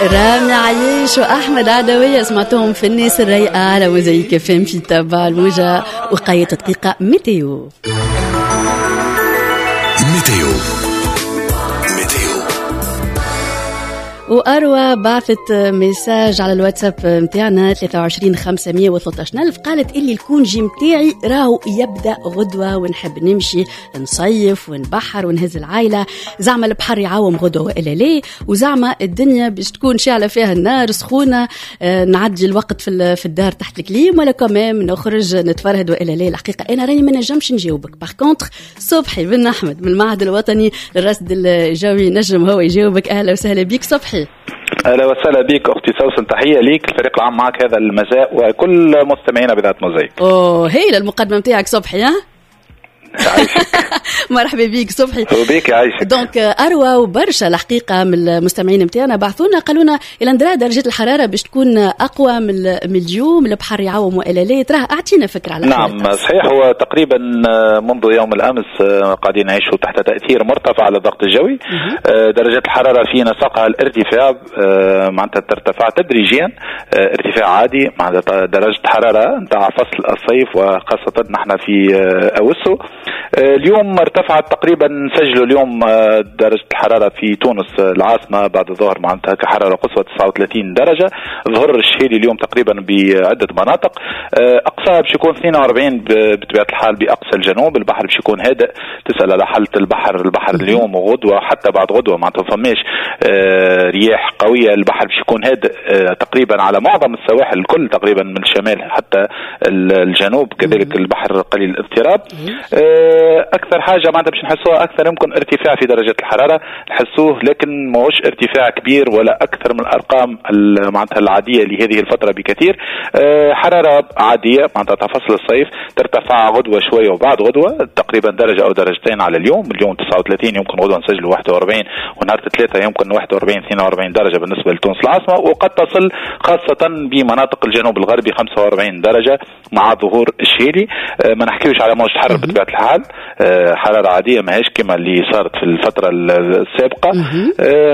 رامي عياش واحمد عدويه، سمعتهم في الناس الرايقه على موزايك FM في تبع الموجه. وقاية دقيقة météo. météo météo. وأروى بعثت message على الواتساب نتاعنا 23 513 ألف، قالت اللي ال congé نتاعي راهو يبدأ غدوة ونحب نمشي نصيف ونبحر ونهز العائلة. زعما البحر يعوم غدوة وإلا لا؟ وزعما الدنيا باش تكون شاعلة فيها النار سخونة، نعدي الوقت في الدار تحت ال clim ولا quand même نخرج نتفرهد وإلا لا؟ الحقيقة أنا راني ما نجمش نجاوبك. par contre صبحي بن أحمد من المعهد الوطني للرصد الجوي نجم هو يجاوبك. أهلا وسهلا بك صبحي. اهلا وسهلا بك اختي سوسن، تحية ليك، الفريق العام معك هذا المساء وكل مستمعينا بإذاعة موزايك. اوه، هايلة المقدمة نتاعك صبحي، ها. مرحبا بك صبحي. وبيك، يعيشك. donc اروى وبرشا الحقيقة من المستمعين نتاعنا بعثونا، قالوا لنا الى ندرا درجه الحرارة باش تكون اقوى من اليوم، البحر يعوم والا لا؟ تراه اعطينا فكرة على نعم صحيح، هو تقريبا منذ يوم الامس قاعدين نعيشوا تحت تاثير مرتفع على الضغط الجوي. درجات الحرارة في نسقها الارتفاع، معناتها ترتفع تدريجيا، ارتفاع عادي معناتها درجه حرارة نتاع فصل الصيف وخاصة نحن في اوسو. اليوم ارتفعت تقريبا، سجلوا اليوم درجة الحرارة في تونس العاصمة بعد الظهر معناتها كحرارة قصوى 39 درجة. ظهر الشهيلي اليوم تقريبا بعدة مناطق، أقصاها باش يكون 42 بطبيعة الحال بأقصى الجنوب. البحر باش يكون هادئ، تسأل على حالة البحر، البحر اليوم وغدوة حتى بعد غدوة معناتها فماش رياح قوية. البحر باش يكون هادئ تقريبا على معظم السواحل الكل تقريبا من الشمال حتى الجنوب، كذلك البحر قليل الاضطراب. اكثر حاجة معناتها باش نحسوها اكثر يمكن ارتفاع في درجه الحرارة نحسوه، لكن ماهوش ارتفاع كبير ولا اكثر من الارقام معناتها العادية لهذه الفترة بكثير. حرارة عادية معناتها فصل الصيف، ترتفع غدوه شوية وبعد غدوه تقريبا درجه او درجتين على اليوم. اليوم 39، يمكن غدوه نسجل 41، ونهار الثلاثاء يمكن 41 42 درجه بالنسبة لتونس العاصمه، وقد تصل خاصة بمناطق الجنوب الغربي 45 درجه مع ظهور الشهيلي. ما نحكيوش على موجة حر بطبيعة الحال، حرارة عادية ماهيش كما اللي صارت في الفترة السابقه.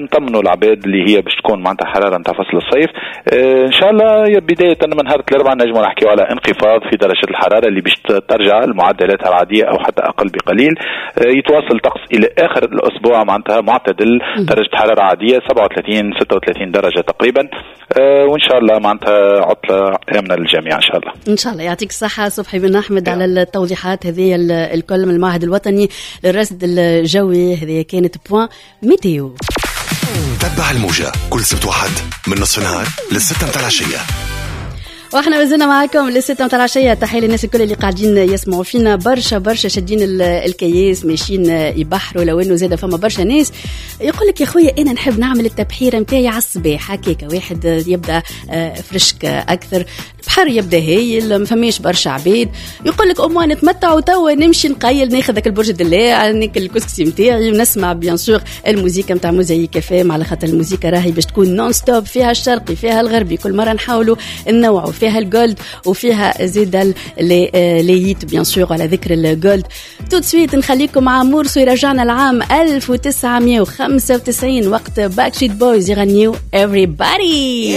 نطمنوا العباد اللي هي باش تكون معناتها حرارة نتاع فصل الصيف. ان شاء الله بداية من نهار الاربعاء نجموا نحكيو على انخفاض في درجه الحرارة اللي باش ترجع لمعدلاتها العادية او حتى اقل بقليل. يتواصل طقس الى اخر الاسبوع معناتها معتدل، درجه حرارة عادية 37 36 درجه تقريبا، وان شاء الله معناتها عطله امنه للجميع ان شاء الله. ان شاء الله. يعطيك الصحة صبحي بن احمد على التوضيحات هذه الكل من المعهد الوطني للرصد الجوي. هذه كانت point météo. تبع الموجة كل سبت وحد من نصف النهار للستة متاع العشية. واحنا مازلنا معاكم للستة متاع العشية. تحية للناس الكل اللي قاعدين يسمعوا فينا، برشا برشا شادين الكياس ماشيين يبحروا، لو انه زاد فما برشا ناس يقول لك يا خويا انا نحب نعمل التبحيره نتاعي على الصباح، هكاك واحد يبدا fraîche اكثر، البحر يبدا هايل، ما فماش برشا عباد، يقول لك au moins نتمتع وتوا نمشي نقيل، ناخذ ذاك البرج الدلاع، ناكل الكسكسي نتاعي ونسمع bien sûr الموزيكا نتاع موزايك FM، على خاطر الموزيكا راهي باش تكون non-stop، فيها الشرقي فيها الغربي، كل مرة نحاولوا ننوعوا، فيها ال gold وفيها زيد les hits bien sûr. على ذكر ال gold، tout de suite نخليكم مع morceau يرجعنا العام 1995 وقت Backstreet Boys يغنيو Everybody.